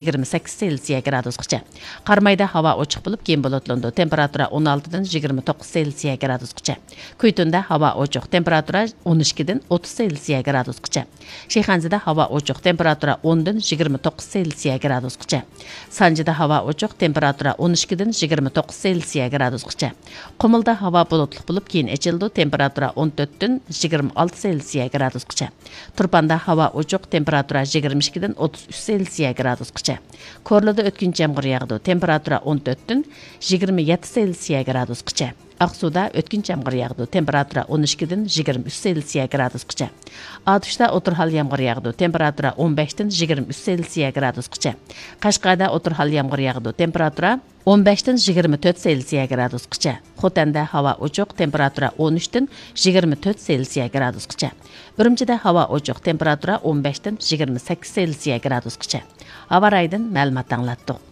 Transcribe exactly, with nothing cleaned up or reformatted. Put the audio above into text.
يىگىرمە سەككىز سېلسىيە گرادۇسقىچە. قارامايدا ھاۋا ئوچۇق بولۇپ، كېيىن بۇلۇتلىنىدۇ، تېمپېراتۇرا ئون ئالتىدىن يىگىرمە توققۇز سېلسىيە گرادۇسقىچە. كۈيتۇندا ھاۋا ئوچۇق، تېمپېراتۇرا ئون ئىككىدىن ئوتتۇز سېلسىيە گرادۇسقىچە. شىخەنزىدە ھاۋا ئوچۇق، تېمپېراتۇرا ئوندىن يىگىرمە توققۇز سېلسىيە گرادۇسقىچە. سانجىدا ھاۋا ئوچۇق، تېمپېراتۇرا ئون ئىككىدىن يىگىرمە توققۇز سېلسىيە گرادۇسقىچە. قۇمۇلدا ھاۋا بۇلۇتلۇق بولۇپ، كېيىن ئېچىلىدۇ، تېمپېراتۇرا ئون تۆتتىن يىگىرمە ئالتە سېلسىيە گرادۇسقىچە. تۇرپاندا ھاۋا ئوچۇق، تېمپېراتۇرا يىگىرمە ئىككىدىن ئوتتۇز ئۈچ سېلسىيە گرادۇسقىچە. كورلىدا ئۆتكۈنچى يامغۇر ياغىدۇ، تېمپېراتۇرا ئون تۆتتىن يىگىرمە يەتتە سېلسىيە گرادۇسقىچە. ئاقسۇدا ئۆتكۈنچى يامغۇر ياغىدۇ، تېمپېراتۇرا ئون ئىككىدىن يىگىرمە ئۈچ سېلسىيە گرادۇسقىچە. ئاتۇشتا ئوتتۇرا ھال يامغۇر ياغىدۇ، تېمپېراتۇرا ئون بەشتىن يىگىرمە ئۈچ سېلسىيە گرادۇسقىچە. قەشقەردە ئوتتۇرا ھال يامغۇر ياغىدۇ، تېمپېراتۇرا ئون بەشتىن يىگىرمە تۆت سېلسىيە گرادۇسقىچە. خوتەندە ھاۋا ئوچۇق، تېمپېراتۇرا ئون ئۈچتىن يىگىرمە تۆت سېلسىيە گرادۇسقىچە. ئۈرۈمچىدە ھاۋا ئوچۇق، تېمپېراتۇرا ئون بەشتىن يىگىرمە سەككىز سېلسىيە گرادۇسقىچە. ھاۋا رايىدىن مەلۇمات ئاڭلاتتۇق.